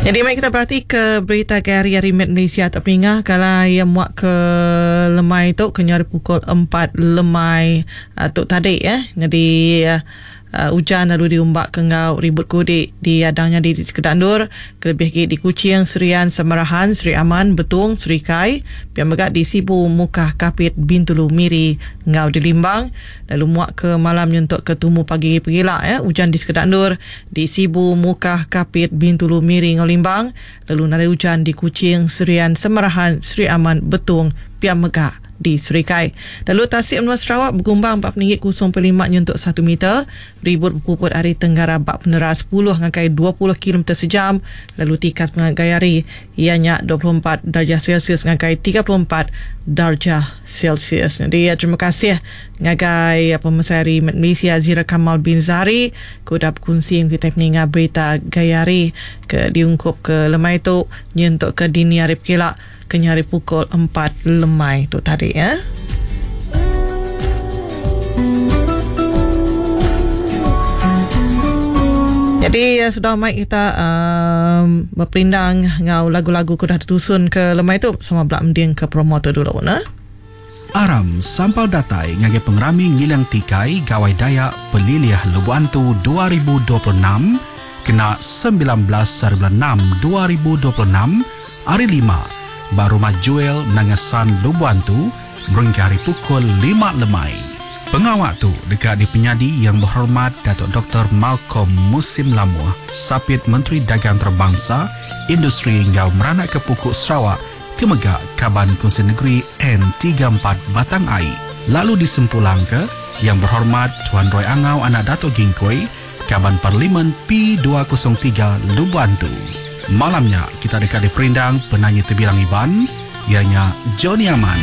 Nyadi mari kita berati ke berita ke hari hari Met Malaysia tu peninga kala iya muak ke lemai tu ke nyau pukul 4 lemai tu tadi eh. Nyadi ujan lalu diumbak ke enggau ribut kudi diadang nyadi di sekeda endur kelebih agi di Kuching, Serian, Samarahan, Sri Aman, Betong, Serikai, pia mega di Sibu, Mukah, Kapit, Bintulu, Miri enggau di Limbang. Lalu muak ke malam nyentuk ke tumu pagi pegila ya, ujan di sekeda endur di Sibu, Mukah, Kapit, Bintulu, Miri enggau Limbang lalu nadai ujan di Kuching, Serian, Samarahan, Sri Aman, Betong, pia mega di Serikai. Lalu tasik menua Sarawak begumbang ba peninggi 0.5 nyentuk 1 meter, ribut bepuput ari tenggara ba peneras 10 ngagai 20 kilometer sejam lalu tikas pengagai hari iya nya 24 darjah Celsius ngagai 34 darjah Celsius. Jadi terima kasih ngagai pemesai hari Malaysia Zira Kamal bin Zahari ke udah bekunsi enggau kitai peninga berita gaya hari ke diungkup ke lemai tu nyentuk ke dini hari pekila ke nyari pukul 4 lemai tu tadi ya. Jadi ya, sudah mai kita um, berperindang ngau lagu-lagu ke udah ditusun ke lemai tu sama belak mending ke promo tu dulu nah. Aram sampal datai ngagai pengerami Ngiling Tikai Gawai Dayak Pelilih Lubok Antu 2026 kena 19 hari bulan 6 2026, Hari Lima, ba Rumah Juel Nanga San Lubok Antu berengkah ari pukul lima lemai. Pengawa tu deka dipenyadi Yang Berhormat Datuk Doktor Malcolm Musim Lamoh, Sapit Menteri Dagang Antarabangsa, Industri enggau Meranakka Puku Sarawak ke mega Kaban Kunsil Negeri N34 Batang Ai lalu disempulangka Yang Berhormat Tuan Roy Angau anak Dato Gingkoi, Kaban Parlimen P203 Lubok Antu. Malam nya kita deka diperindang penanyi tebilang Iban iya nya Johnny Aman.